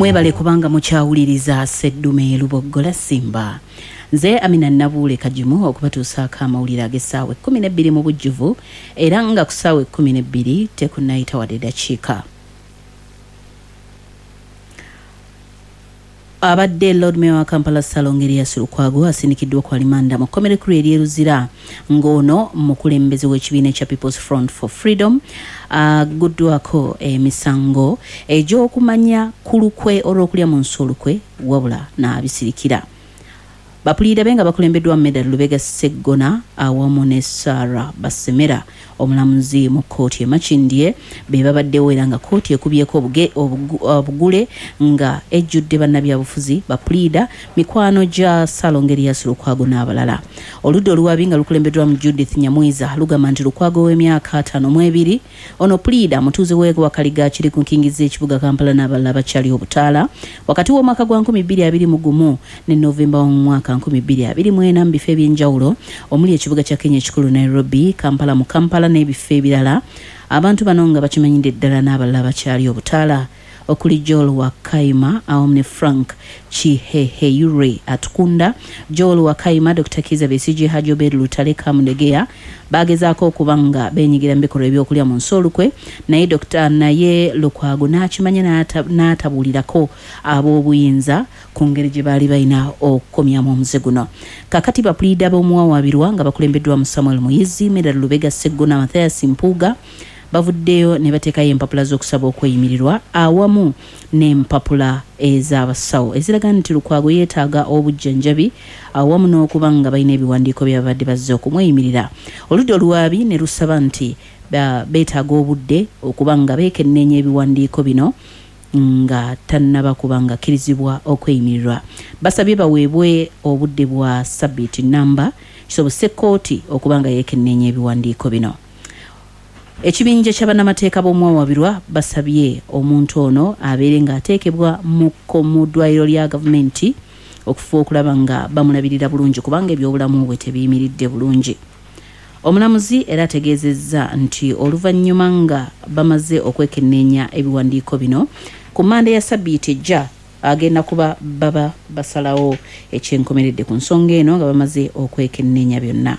Mwebale kubanga mukyawuliriza Sseddume Luboggola Simba. Nze Amina Nabuule Kagimu okubatuusaako amawulire ag'essaawa 12 mu bujjuvu era nga ku ssaawa 12 tekunnayita wadde dakiika. Abadde Lord Mayor wa Kampala Ssalongo Erias Lukwago asindikiddwa ku alimanda mu kkomera ekkulu ery'e Luzira ng'ono mukulembeze w'ekibiina ekya People's Front for Freedom aguddwako emisango egy'okumanya ku lukwe olw'okulya mu nsi olukwe wabula n'abisirikira. Bapuliida be nga bakulembeddwamu Medard Lubega Sseggona awamu ne Sarah Basemera omulamuzi mu kkooti e Makindye be babaddewo era nga kkooti ekubyeko obugule nga ejjudde bannabyabufuzi, bapuliida, mikwano gya Ssalongo Erias Lukwago n'abalala. Oludda oluwaabi nga lukulembeddwamu Judith Nyamwiza lugamba nti Lukwago ow'emyaka 52 Ono puliida mutuuze w'e Wakaliga kiri ku nkingizi z'ekibuga Kampala n'abalala abakyali obutaala wakati w'omwaka gwa 2021 ne November w'omwaka 2024 mu bifo eby'enjawulo omuli ekibuga kya Kenya ekikulu Nairobi, Kampala mu Kampala n'ebifo ebirala. Abantu bano nga bakimanyidde ddala n'abalala abakyali obutaala okuli Joel Wakaima awamu ne Frank Kiheheyure Atukunda, Joel Wakaima, Dokita Kiiza Besigye, Hajji Obeid Lutale Kamulegeya baagezaako okuba nga beenyigira mu bikolwa eby'okulya mu nsi olukwe naye Dokita naye Lukwago n'akimanya n'atabuulirako ab'obuyinza ku ngeri gye baali balina okukomyamu omuze guno. Kaakati bapuliida b'omuwawaabirwa nga bakulembeddwamu Samuel Muyizzi, Medard Lubega Sseggona, Mathias Mpuuga bavuddeyo ne bateekayo empapula z'okusaba okweyimirirwa awamu n'empapula ez'abasawo eziraga nti Lukwago yeetaaga obujjanjabi awamu n'okuba nga balina ebiwandiiko bye babadde bazze okumweyimirira. Oludda oluwaabi ne lusaba nti beetaaga obudde okuba nga beekenneenya ebiwandiiko bino nga tannaba kuba ng'akkirizibwa okweyimirirwa. Basabye baweebwe obudde bwa ssabbiiti nnamba kisobozese kkooti okuba nga yeekenneenya ebiwandiiko bino. Ekibinja kya bannamateeka b'omuwawabirwa basabye omuntu ono abeere ng'ateekebwa mu mu ddwaliro lya gavumenti okufuba okulaba nga bamulabirira bulungi kubanga eby'obulamu bwe tebiyimiridde bulungi. Omulamuzi era ategeezezza nti oluvannyuma nga bamaze okwekenneenya ebiwandiiko bino, ku Mmande ya ssabbiiti ejja agenda kuba baba basalawo eky'enkomeredde ku nsonga eno nga bamaze okwekenneenya byonna.